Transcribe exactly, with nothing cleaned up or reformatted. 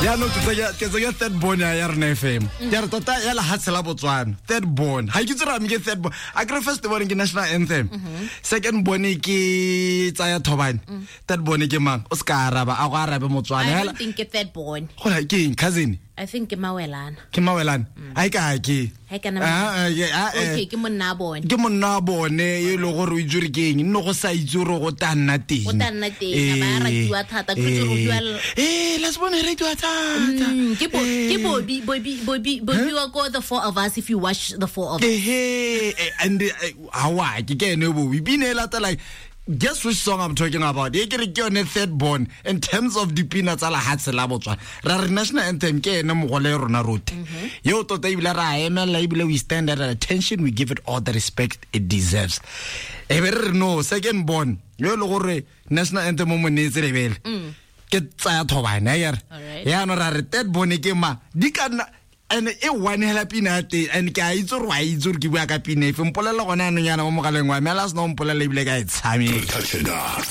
Jaanong ke tsenya- ke tsenya third born ya ya rona F M. Ke re tota ya lehatshe la Botswana, third born, ga ke itse gore a mme ke third born. A kere first born ke national anthem, second born ke tsaya thobane, third born ke mang? O se ka araba, a go arabe Motswana. I Hela. don't think ke third born. Gona ke eng, cousin? I think ke mawelana. Ke mawelana, a e ka ke. Ha e kana. Ah, ah, yeah, ah, eh. Okay, ke monna a bone. Ke monna wa bone e le gore o itse gore ke eng, nne go sa itse gore go tla nna teng. Go tla nna teng, a ba a ratiwa thata, ke itse gore o bua l- Ee, last born e ratiwa thata. Mm, ke bo Eh. ke Bobby Bobby Bobby Bobby wa ko The Four of Us, if you watch The Four of Us. Ehe, eh, and eh, hawa ke ke ene Bobby. Pina e latela, guess which song I'm talking about? E ke re ke yone third born in terms of dipina tsa lehatshe la Botswana. Ra re national anthem ke ene mogole rona rote yeo tota, ebile ra emela, ebile we stand at attention, we give it all the respect it deserves. E be re re no, second born yo e le gore national anthem mo mo neetse lebele ke tsaya thobane a kere. Alright. Yaanong ra re third born ke ma di ka nna and e one hela pina ya teng, and ke a itse gore wa itse gore ke bua ka pina efe. Mpolelela gone anong yana mo mogaleng wa me, ala sena o mpolelela ebile ka e tshameka. Touch it up.